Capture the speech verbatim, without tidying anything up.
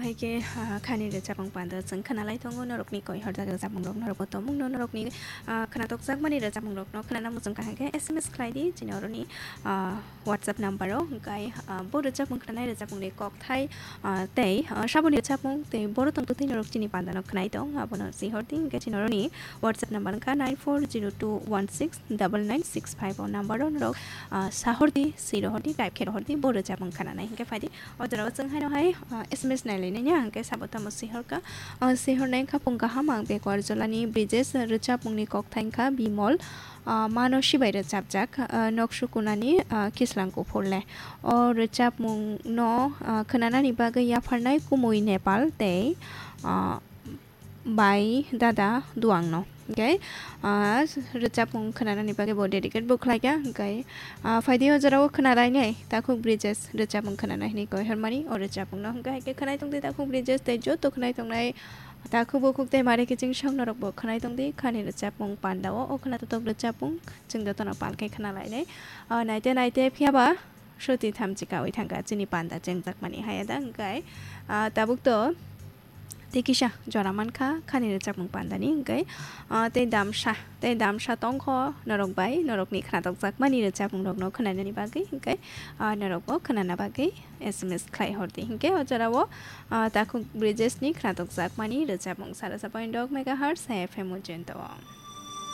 Haikhe, ah, khani rwchapmung panda chwng khwnalai tongo, norokni koihor jak rwchapmung rok norokbo tongmung no, norokni, ah, khwnatok jakmani rwchapmung rok no khwnana muchung kha haikhe S M S khlai di, chini oroni, ah, WhatsApp number o, hwnkhe, ah, bo rwchapmung khwnanai rwchapmung ni kokthai, ah, tei, ah, saboni rwchapmung tei boro tong twtwi norok chini panda no khwnai tong, abono sihor di, hwnkhe chini oroni WhatsApp number wngkha nine four zero two one six double nine six five o number o norok, ah, sahor di, swi rohor di, type khe rohor di, bo rwchapmung khwnanai hwnkhe phai di. O jorao chwng haino hai, ah, S M S nai lainai ni ang khe sabo tamo sihor kha. Ah, sihor nai kha phung kaham ang Bekuar Jolani Brijesh rwchapmung ni kokthai wngkha Bimol, ah, mano sibai rwchapjak, ah, nok sukunani, ah, kislang kuphur le. O rwchapmung no, ah, khwnanani bagwi yapharnai Kumui Nepal tei, ah, bai dada duang no. Hwnkhe, ah, rwchapmung khwnanani bagwi bo dedicate bo khlai kha. Hwnkhe, ah, phai di o jorao khwnalainai takhuk Brijesh rwchapmung khwnanai hwnwi koi hormani o rwchapmung no. Hwnkhe hai khe khwnai tong di takhuk Brijesh tei joto khwnai tongnai takhuk bukhuk tei mare kiching song norok bo khwnai tong di khani rwchapmung panda o, o khwna totok rwchapmung chwng joto no pal khe khwnalainai. Ah, naite naite phiya ba soti thamchi kawi thangkha chini panda chengjakmani haya da hwnkhe, ah, tabuk to tei kisa jora mankha khani rwchapmung pandani hwnkhe, ah, tei damsa, tei damsa tongkho norok bai, norokni khwnatok jakmani rwchapmung rokno khwnainani bagwi hwnkhe, ah, norokbo khwnana bagwi S M S khlai hor di hwnkhe o jorao, ah, takhuk Brijesh ni khwnatok jakmani rwchapmung sara sa point dok megahertz F M o jento.